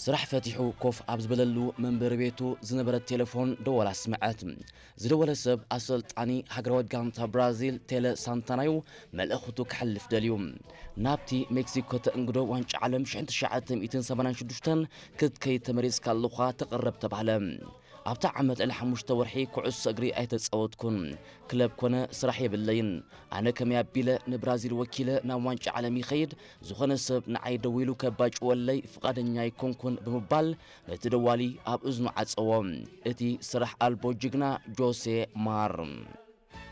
ስራሕ ፈቲሑ ኮፍ ኣብ ዝበለሉ መንበሪ ቤቱ ዝነበረት ቴሌፎን ደወል ኣስምዐት። ዝደወለ ሰብ ኣሰልጣኒ ሃገራዊት ጋንታ ብራዚል ቴለ ሳንታናዩ መልእኽቱ ክሕልፍ ደልዩ። ናብቲ ሜክሲኮ ተእንግዶ ዋንጫ ዓለም ሽሕን ትሽዓተ ሚእትን ሰማንያን ሽዱሽተን ክትከይድ ተመሪጽካ ኣለኻ፣ ተቐረብ ተባህለ። ኣብታ ዓመት ልዕሊ ሓሙሽተ ወርሒ ኩዕሶ እግሪ ኣይተጻወትኩን። ክለብ ኮነ ስራሕ የብለይን። ኣነ ከመይ ኣቢለ ንብራዚል ወኪለ ናብ ዋንጫ ዓለም ይኸይድ? ዝኾነ ሰብ ንዓይ ደዊሉ ከባጭወለይ ፍቓደኛ ኣይኮንኩን ብምባል ነቲ ደዋሊ ኣብ እዝኑ ዓጸዎ። እቲ ስራሕ ኣልቦ ጅግና ጆሴ ማር።